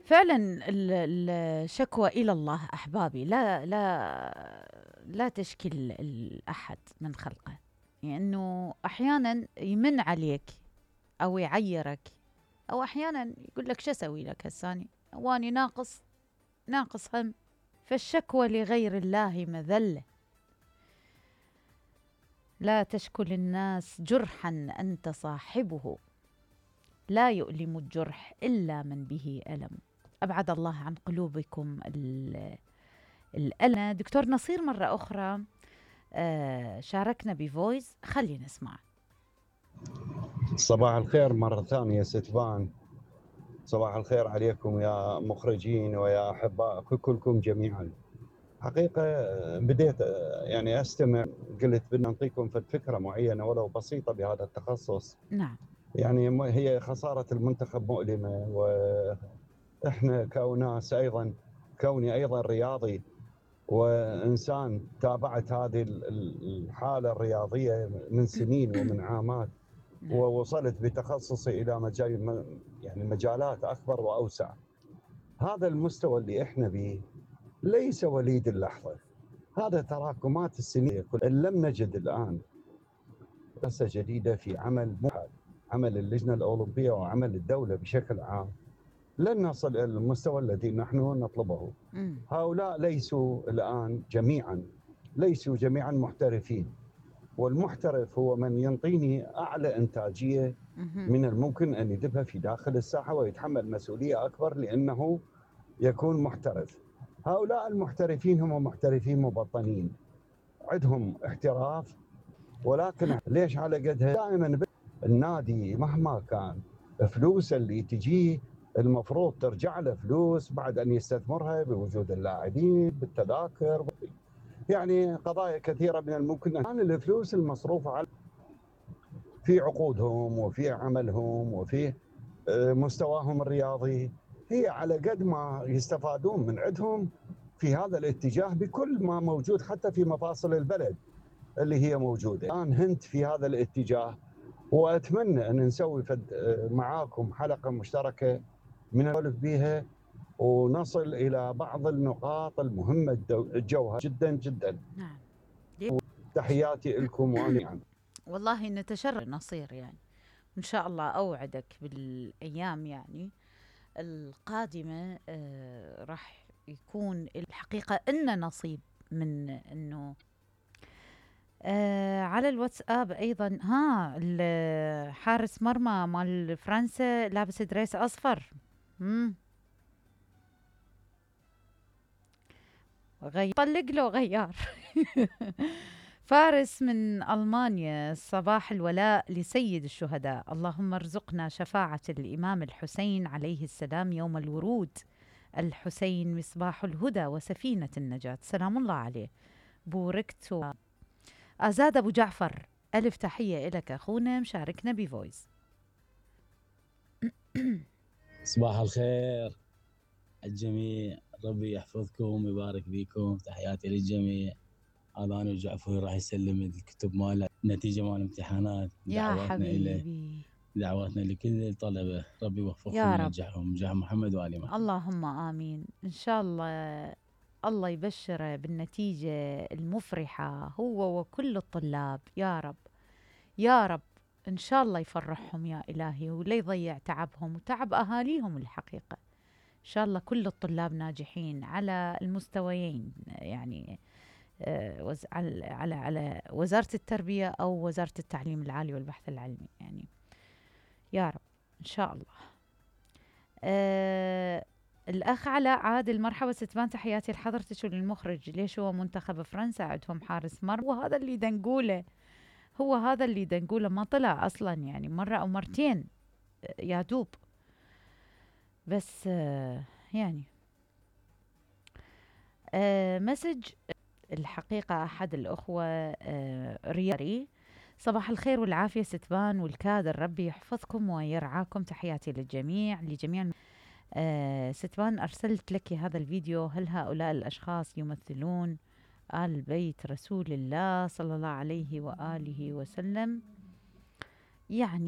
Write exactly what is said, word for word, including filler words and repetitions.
فعلا ال- الشكوى إلى الله أحبابي لا لا لا تشكي الأحد من خلقه، لأنه أحيانا يمن عليك أو يعيرك، أو أحيانا يقول لك شو أسوي لك هساني واني ناقص ناقص هم. فالشكوى لغير الله مذلة. لا تشكو للناس جرحا أنت صاحبه، لا يؤلم الجرح إلا من به ألم. أبعد الله عن قلوبكم الألم. دكتور نصير مرة أخرى شاركنا بفويس، خلينا نسمع. صباح الخير مرة ثانية ستفان، صباح الخير عليكم يا مخرجين ويا أحباء كلكم جميعا. حقيقة بديت يعني أستمع، قلت بدنا نعطيكم فكرة معينة ولو بسيطة بهذا التخصص. نعم. يعني هي خسارة المنتخب مؤلمة، وإحنا كوناس أيضا، كوني أيضا رياضي وإنسان تابعت هذه الحالة الرياضية من سنين ومن عامات، ووصلت بتخصصي إلى مجال يعني مجالات أكبر وأوسع. هذا المستوى اللي إحنا به ليس وليد اللحظة، هذا تراكمات السنين. إن لم نجد الآن دراسة جديدة في عمل عمل اللجنة الأولمبية وعمل الدولة بشكل عام، لن نصل إلى المستوى الذي نحن نطلبه. هؤلاء ليسوا الآن جميعا ليسوا جميعا محترفين، والمحترف هو من ينطيني أعلى إنتاجية من الممكن أن يذبها في داخل الساحة ويتحمل مسؤولية أكبر لأنه يكون محترف. هؤلاء المحترفين هم محترفين مبطنين، عندهم احتراف، ولكن ليش على قدها؟ دائما النادي مهما كان فلوس اللي تجيه المفروض ترجع له فلوس بعد أن يستثمرها بوجود اللاعبين بالتذاكر، يعني قضايا كثيرة من الممكن أن الفلوس المصروفة على في عقودهم وفي عملهم وفي مستواهم الرياضي هي على قد ما يستفادون من عندهم في هذا الاتجاه بكل ما موجود حتى في مفاصل البلد اللي هي موجودة. الآن هنت في هذا الاتجاه، وأتمنى أن نسوي معاكم حلقة مشتركة من نسولف بها ونصل إلى بعض النقاط المهمة الجوهرة جدا جدا. نعم. تحياتي لكم وأنا يعني. والله نتشرف نصير، يعني إن شاء الله أوعدك بالأيام يعني القادمة آه راح يكون الحقيقة إن نصيب من إنه آه على الواتساب أيضا. ها حارس مرمى مال فرنسا لابس دريس أصفر، مم. غير طلق له غيار. فارس من ألمانيا، صباح الولاء لسيد الشهداء، اللهم ارزقنا شفاعة الإمام الحسين عليه السلام يوم الورود. الحسين مصباح الهدى وسفينة النجاة، سلام الله عليه. بوركت. أزاد أبو جعفر، ألف تحية إلك أخونا، مشاركنا بفويس. صباح الخير الجميع، ربي يحفظكم ويبارك فيكم، تحياتي للجميع. هذا أنا وجعفر راح يسلم الكتب ماله، نتيجة مال الامتحانات. يا حبيبي، دعواتنا لكل الطلبة، ربي يوفقهم وينجحهم، نجاح محمد وآل محمد. اللهم آمين. إن شاء الله الله يبشره بالنتيجة المفرحة هو وكل الطلاب، يا رب يا رب. إن شاء الله يفرحهم يا إلهي، ولا يضيع تعبهم وتعب أهاليهم. الحقيقة إن شاء الله كل الطلاب ناجحين على المستويين، يعني على على على وزارة التربية أو وزارة التعليم العالي والبحث العلمي، يعني يا رب إن شاء الله. أه الأخ علاء عادل، مرحبا ستبان، تحياتي لحضرتك وللمخرج. ليش هو منتخب فرنسا عندهم حارس مرمى، وهذا اللي دنقوله، هو هذا اللي دنقوله ما طلع أصلا، يعني مرة أو مرتين يا دوب، بس أه يعني أه مسج. الحقيقة أحد الأخوة أه رياري، صباح الخير والعافية ستبان والكادر، ربي يحفظكم ويرعاكم، تحياتي للجميع لجميع. آه ستبان، أرسلت لك هذا الفيديو، هل هؤلاء الأشخاص يمثلون آل بيت رسول الله صلى الله عليه وآله وسلم؟ يعني